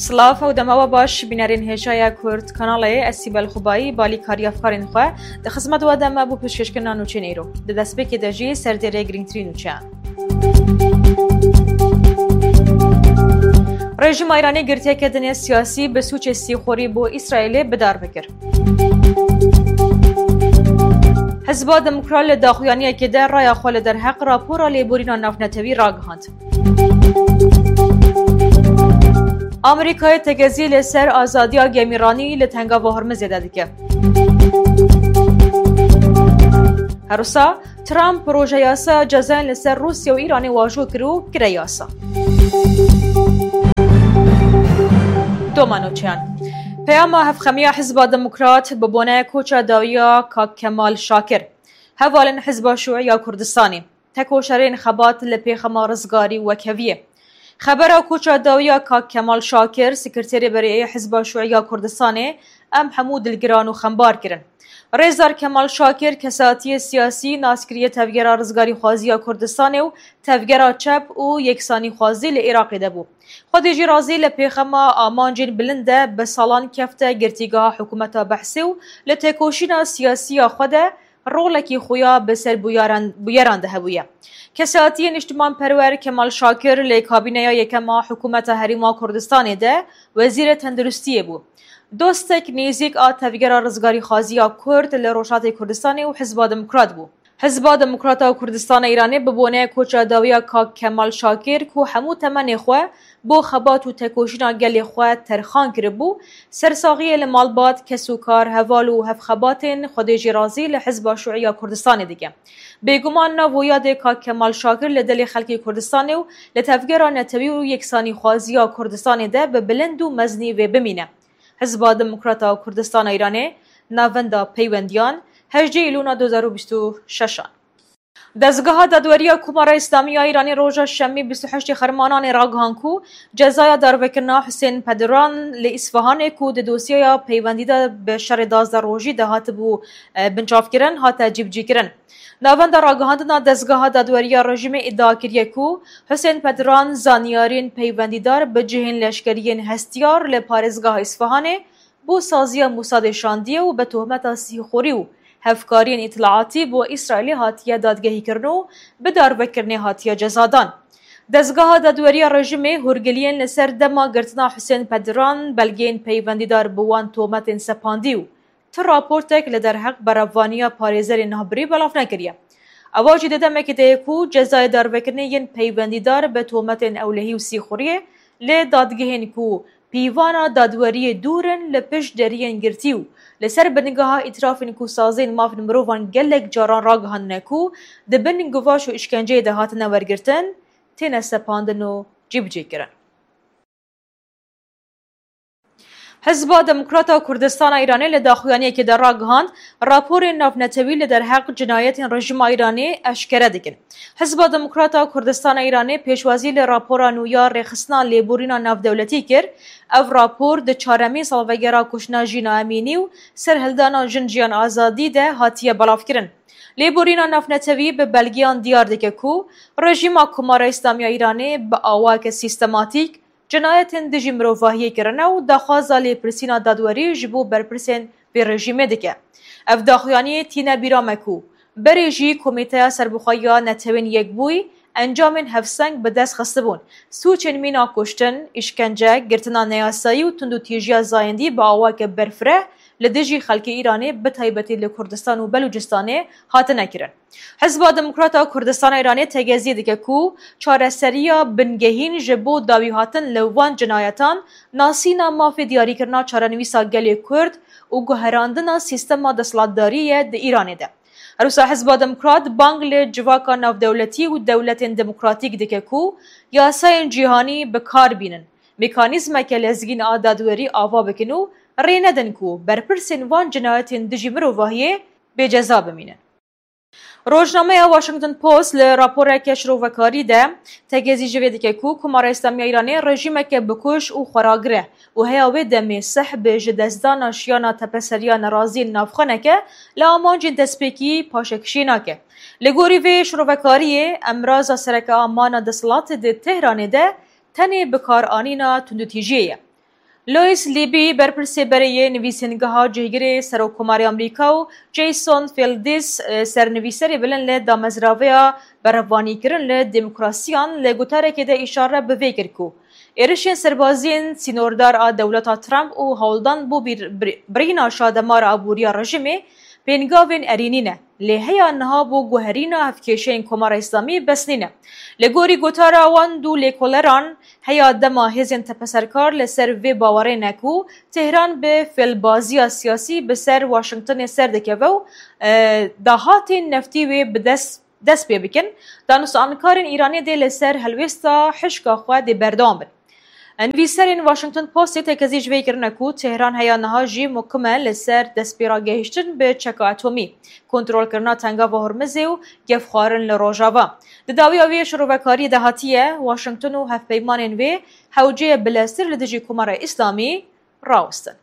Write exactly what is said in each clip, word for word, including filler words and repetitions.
Silav û dema we baş, bînerên hêja ya Kurd Kanalê, ez Sîbel Xubayî, balîkarî afkarên xwe, di xizmet we de me bo pêşkêşkirina nûçeyên îro. Di destpêkê de jî serdêrê girîngtirîn nûçeyan. Rejîma Îranê girtiyeke dinê siyasî bi sûcê sîxurî bo Îsraîlê bi dar bikir. Hizba Demokrat li daxuyaniyekê de raya xwe li derheq rapora lêborîna navnetewî ragihand. Amerîkayê tekezî li ser azadiya gemîranî li Tengava Hormizê de dike. Her wisa Trump projeyasaya cezayên li ser Rûsya û Îranê wajo kir û kire yasa. Doma nûçeyan. Peyama hevxemiya Hizba Demokrat bi bone koça dawiya Kak Kemal Şakir, hevalên Hizba Şûî ya Kurdistanê, tekoşerên xebat li pêxema rizgarî û wekheviyê. Xebera koça dawiya Kak Kemal Şakir, Sekreterê Berê yê Hizba Şûî ya Kurdistanê, em hemû dilgiran û xembar kirin. Rêzdar Kemal Şakir, kesatiyê siyasî, naskiriyê tevgera rizgarîxwazî ya Kurdistanê û tevgera çep û yeksanîxwazî li Iraqê de bû. Xwedê jî razî, li pêxema amancên bilind de bi salan kefte girtîgeha hikûmeta Behsê û li têkoşîna siyasî ya xwe de rolekî xuya bi ser bûyaran, bûyeran de hebûye. Kesatiyê niştimanperwer Kemal Şakir li kabîneya yekem a hikûmeta Herêma Kurdistanê de wezîrê tenduristiyê bû. Dostek nêzîk a tevgera rizgarîxwazî ya Kurd li Rojhatê Kurdistanê û Hizba Demokrat bû. Hizba Demokrat a Kurdistana Îranê bi bone koça dawiya Kak Kemal Şakir, ku hemû temenê xwe bo xebat û tekoşîna gelê xwe terxan kiribû, sersaxiyê li malbat, kes û kar, heval û hevxebatên Xwedê jî razî li Hizba Şûî ya Kurdistanê dike. Bêguman nav û yadê Kak Kemal Şakir li dilê xelkê Kurdistanê û li tevgera netewî û yeksanîxwazî ya Kurdistanê de bi bilind û meznî vê bimîne. Hizba Demokrat a Kurdistana Îranê, Navenda Peywendiyan, hejdê Îlûna du hezar û bîst û şeş an. Dezgeha Dadweriya Komara Îslamî ya Îranê roja Şemî bîst û heştê Xermananê ragihan ku cezaya darvekirina Husên Pediran li Îsfahanê ku di dosyaya peywendî de bi şerê duwazdeh rojî de hatibû, e, binçavkirin, hate cîbicîkirin. Navenda ragihandina Dezgeha Dadweriya Rejîmê îdia kiriye ku Husên Pediran zanyariyên peywendîdar bi cihên leşkeriyên hestiyar li parêzgeha Îsfahanê bo saziya Mosadê şandiye û bi tohmeta sîxurî û hevkariyên îtilaatî bo Îsraîlê hatiye dadgehîkirin û bi darvekirinê hatiye cezadan. Dezgeha Dadweriya Rejîmê hûrgiliyên li ser dema girtina Husên Pediran, belgeyên peywendîdar bi wan tohmetên sepandî û ti raportek li derheq berevaniya parêzerên navbirî belav nekiriye. Ewa jî di demekê de ye ku cezayê darvekirinê yên peywendîdar bi tohmetên ewlehî û sîxuriyê li dadgehên ku pîvana dadweriyê dûr in li pişt deriyên girtî û li ser bingeha îtirafên ku saziyên mafên mirovan gelek caran ragihandine ku di bin guvaş û îşkenceyê de hatine wergirtin, têne sepandin û cîbicîkirin. Hizba Demokrat a Kurdistana Îranê li daxuyaniyekê de ragihand, raporên navnetewî li derheq cinayetên rejîma Îranê eşkere dikin. Hizba Demokrat a Kurdistana Îranê pêşwazî li rapora nû ya rêxistina lêborîna navdewletî kir. Ev rapor di çaremîn salvegera kuştina Jîna Emînî û serhildana Jin Jiyan Azadî de hatiye belavkirin. Lêborîna navnetewî bi belgeyan diyar dike ku rejîma Komara Îslamî ya Îranê bi awayeke sîstematîk cinayetên dijî mirovahiyê kirine û daxwaza lêpirsîna dadwerî ji bo berpirsên vê rejîmê dike. Ev daxuyaniyê tîne bîra me ku berê jî Komîteya Serbixwe ya Netewên Yekbûyî encamên hevseng bi dest xistibûn. Sûcên mîna kuştin, îşkence, girtina neyasayî û tundûtîjiya zayendî bi awayeke berfireh li dijî xelkê Îranê, bi taybetî li Kurdistan û Belûcistanê, hatine kirin. Hizba Demokrat a Kurdistana Îranê tegezî dike ku çareseriya bingehîn ji bo dawîhatin li van cinayetan nasîna mafê diyarîkirina çarenivîsa gelê Kurd û guherandina sîstema desthilatdarî ye di Îranê de. Her wisa Hizba Demokrat bang li civaka navdewletî û dewletên demokratîk dike ku yasayên cîhanî bi kar bînin, mekanîzmeke lezgîn a dadwerî ava bikin û rê nedin ku berpirsên van cinayetên dijî mirovahiyê bêceza bimînin. Rojnameya Washington Post li raporeke şirovekarî de tegezî ji vê dike ku Komara Îslamî ya Îranê rejîmeke bikuj û xweragir e û heya wê demê sehbê ji destdana şiyana tepeseriya neraziyên navxweneke li amancên destpêkî paşekişî nake. Li gorî vê şirovekariyê, emraza sereke a mana desthilatê di Tehranê de tenê bikaranîna tundûtîjiyê ye. Louis Libby, berpirsê berê yê nivîsîngeha cihgirê Serokkomarê Amerîka, û Jason Feldes, e, sernivîserê bilind li damezraveya berevanîkirin li demokrasiyan, li gotarekê de îşare bi vê kir ku êrişên serbaziyên sînordar a dewleta Trump û hewldan bo bîr-, bir-, birîna şademara aboriya rejîmê pêngavên erênî ne. Lê heya niha bo guherîna hevkêşeyên Komara Îslamî bes nîne. Li gorî gotara wan du lêkoleran, heya dema hêzên tepeserkar li ser vê bawerê ne ku Tehran bi fêlbaziya siyasî bi ser Washingtonê ser dikeve û, e, dahatên neftî wê bi dest, dest pê bikin, danûstankarên Îranê dê li ser helwêsta hişka xwe dê berdewam bin. Nivîserên Washington Postê tekezî ji vê kirine ku Tehran heya niha jî mukim e li ser destpêragehiştin bi çeka atomî, kontrolkirina Tengava Hormizê û gefxwarin li Rojava. Di dawiya vê şirovekariyê de hatiye, Washington û hevpeymanên wê hewceyê bileztir li dijî Komara Îslamî rawestin.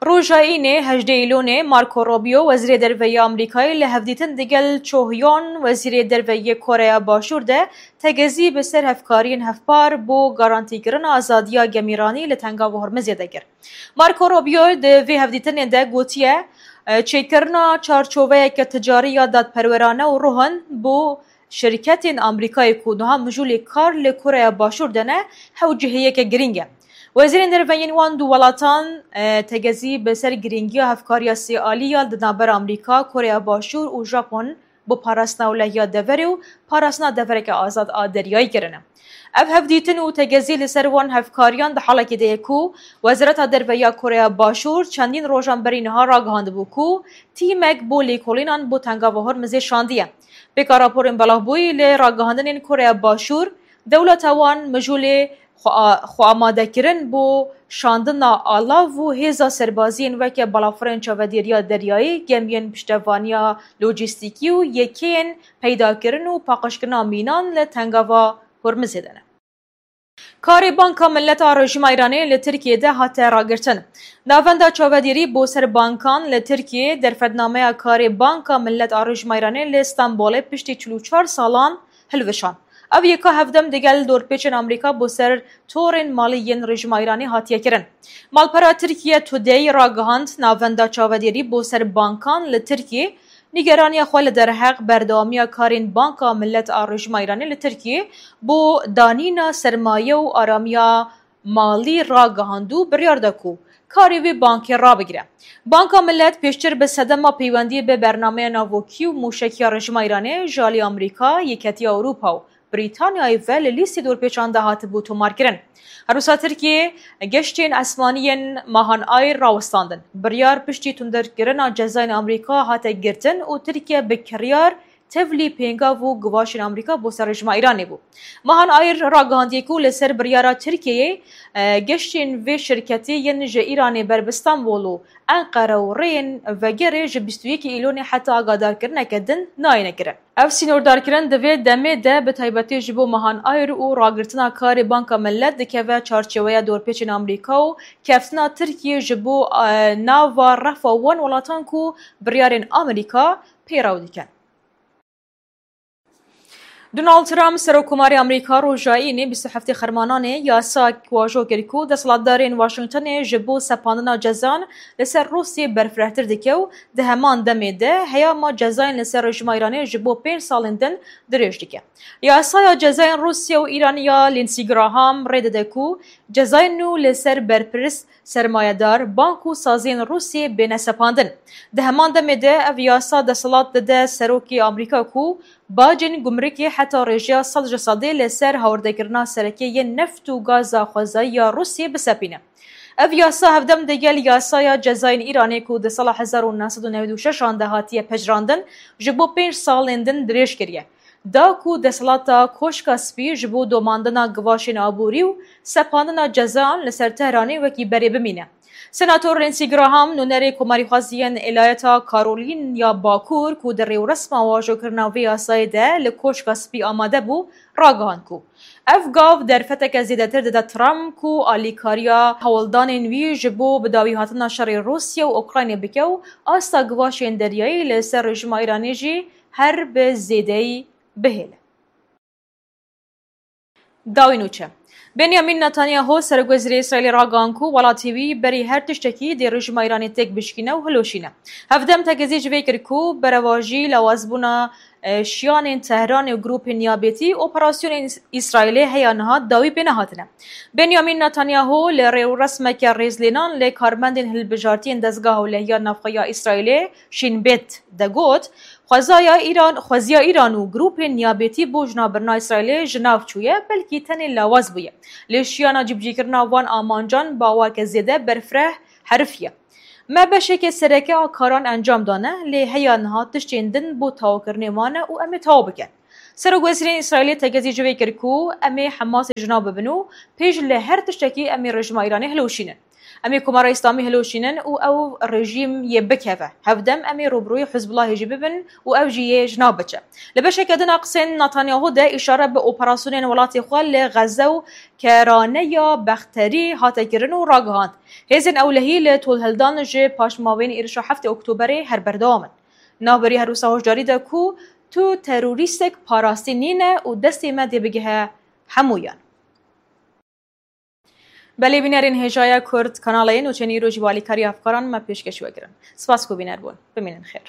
Roja Înê hejdê Îlonê Marco Rubio, Wezîrê Derve yê Amerîkayê, li hevdîtin digel Cho Hyon, Wezîrê Derve yê Koreya Başûr de tegezî bi ser hevkariyên hevpar bo garantîkirina azadiya gemîranî li Tengava Hormizê de kir. Marco Rubio di vê hevdîtinê de gotiye, çêkirina çarçoveyeke ticarî ya dadperwerane û ruhin bo şirketên Amerîkayê ku niha mijûlê kar li Koreya Başûr de ne, hewcihiyeke girîng e. Wezîrên derve yên wan du welatan, e, tegezî bi ser girîngiya hevkariya sêalî ya di navbera Amerîka, Koreya Başûr û Japon bo parastina ewlehiya deverê û parastina devereke azad a deryayî kirine. Ev hevdîtin û tegezî li ser wan hevkariyan di halekê de ye ku Wezareta Derve ya Koreya Başûr çendîn rojan berî niha ragihandibû ku tîmek bo lêkolînan bo Tengava Hormizê şandiye. Pêka raporên belavbûyî li ragihandinên Koreya Başûr, dewleta wan mijûlê xwe a-, xwe amadekirin bo şandina alav û hêza serbaziyên weke balafirên çavedêriya deryayî, gemiyên piştevaniya lojîstîkî û yekeyên peydakirin û paqijkirina mînan li Tengava Hormizê de ne. Karê Banka Millet a Rejîma Îranê li Tirkiyê de hate ragirtin. Navenda çavedêrî bo ser bankan li Tirkiyê derfetnameya karê Banka Millet a Rejîma Îranê li Stenbolê piştî çil û çar salan hilweşand. Ev yeka hevdem digel dorpêçên Amerîka bo ser torên malî yên rejîma Îranê hatiye kirin. Malpera Tirkiye Today ragihand, navenda çavedêrî bo ser bankan li Tirkiyê nîgeraniya xwe li derheq berdewamiya karên Banka Millet a Rejîma Îranê li Tirkiyê bo danîna sermaye û aramiya malî ragihand û biryar da ku karê vê bankê rabigire. Banka Millet pêştir bi sedema peywendiyê bi bernameya navokî û mûşekiya rejîma Îranê ji alî Amerîka, Yeketiya Ewropa û Brîtanyayê ve li lîstê dorpêçan de hatibû tomarkirin. Her wisa Tirkiyê geştên esmanî yên Mahan Air rawestandin. Biryar piştî tundekirina cezayên Amerîka hate girtin û Tirkiye bi kiryar tevlî pêngav û givaşên Amerîka bo ser rejîma Îranê bû. Mahan Air ragihandiye ku li ser biryara Tirkiyeyê, e, geştên vê şirketê yên ji Îranê ber bi Stenbol û Enqere û rêyên vegerê ji bîst û yekê Îlonê heta agadarkirineke din nayêne kirin. Ev sînordarkirin di vê demê de bi taybetî ji bo Mahan Air û ragirtina karê Banka Millet dikeve çarçeweya dorpêçên Amerîka û keftina Tirkiyê ji bo, e, nava refa wan welatan ku biryarên Amerîka peyrew dikin. Donald Trump, Serokkomarê Amerîka, roja Înê bîst û heftê Xermananê yasayek wajo kir ku desthilatdarên Washingtonê ji bo sepandina cezan li ser Rûsyê berfirehtir dike û di heman demê de heyama cezayên li ser rejîma Îranê ji bo pênc salên din dirêj dike. Yasaya cezayên Rûsya û Îranê ya Lindsey Graham rê dide ku cezayên nû li ser berpirs, sermayedar, bank û saziyên Rûsiyê bêne sepandin. Di heman demê de ev yasa desthilat dide serokê Amerîka ku bacên gumrikê heta rêjeya sed ji sedê li ser hawirdekirina sereke yên neft û gaza xwezayî ya Rûsiyê bisepîne. Ev yasa hevdem digel yasaya cezayên Îranê ku di sala hezar û neh sed û newid û şeş an de hatiye pejirandin, ji bo pênc salên din dirêj kiriye. Da ku desthilata Koşka Spî ji bo domandina givaşên aborî û sepandina cezan li ser Tehranê wekî berê bimîne. Senator Lindsey Graham, nûnerê Komarîxwaziyên Elayeta Karolîn ya Bakur ku di rêwresma wajokirina vê yasayê de li Koşka Spî amade bû, ragihand ku ev gav derfeteke zêdetir dide Trump ku alîkariya hewldanên wî ji bo bidawîhatina şerê Rûsya û Ukraynê bike û asta givaşên deryayî li ser rejîma Îranê jî her bi zêdeyî bihêle. Dawî nûçe. Benyamin Netanyahu, serokwezîrê Îsraîlê, ragihan ku welatê wî berî her tiştekî dê rejîma Îranê têk bişkîne û hilweşîne. Hevdem tekezî ji vê kir ku berevajî lawazbûna, e, şiyanên Tehranê û grûpên niyabetî operasyonên Îsraîlê heya niha dawî pê nehatine. Benyamin Netanyahu li rêwresmeke rêzlênan li karmendên hilbijartiyên dezgeha ewlehiya navxwe ya Îsraîlê, Şîn Bet, de got, Xwezaya Îran, xweziya Îran û grûpên niyabetî bo jinavbirina Îsraîlê ji nav çûye, belkî tenê lawaz bûye. Lê şiyana cîbicîkirina van amancan bi awayeke zêde berfireh herifiye. Me beşeke sereke a karan encam dane, lê heya niha tiştên din bo tawkirinê mane û em ê taw bikin. Serokwezîrên Îsraîlê tekezî ji vê kir ku em ê Hemasê ji nav bibin û pêş li her tiştekî em ê rejîma Îranê hilweşînin. Em ê Komara Îslamî hilweşînin û ew rejîm yê bikeve. Hevdem em ê rûbirûyê Hizbulahê jî bibin û ew jî yê ji nav biçe. Li beşeke din a qisên Netanyahu de îşare bi operasyonên welatê xwe li Xeze û keraneya Bexterî hate kirin û ragihand, hêzên ewlehî li tolhildan ji paşmavên êrişa heftê Oktoberê her berdewam in. Navberî her wisa hoşdarî de ku tu terorîstek parastî nîne û destê me dê bigihe hemûyan. Belê bînerên hêjaya Kurd kanalê nûçeyên îro jî bi alîkariya hevkaran me pêşkêş we kirin. Spas ku bîner bûn. Bimînin xêr.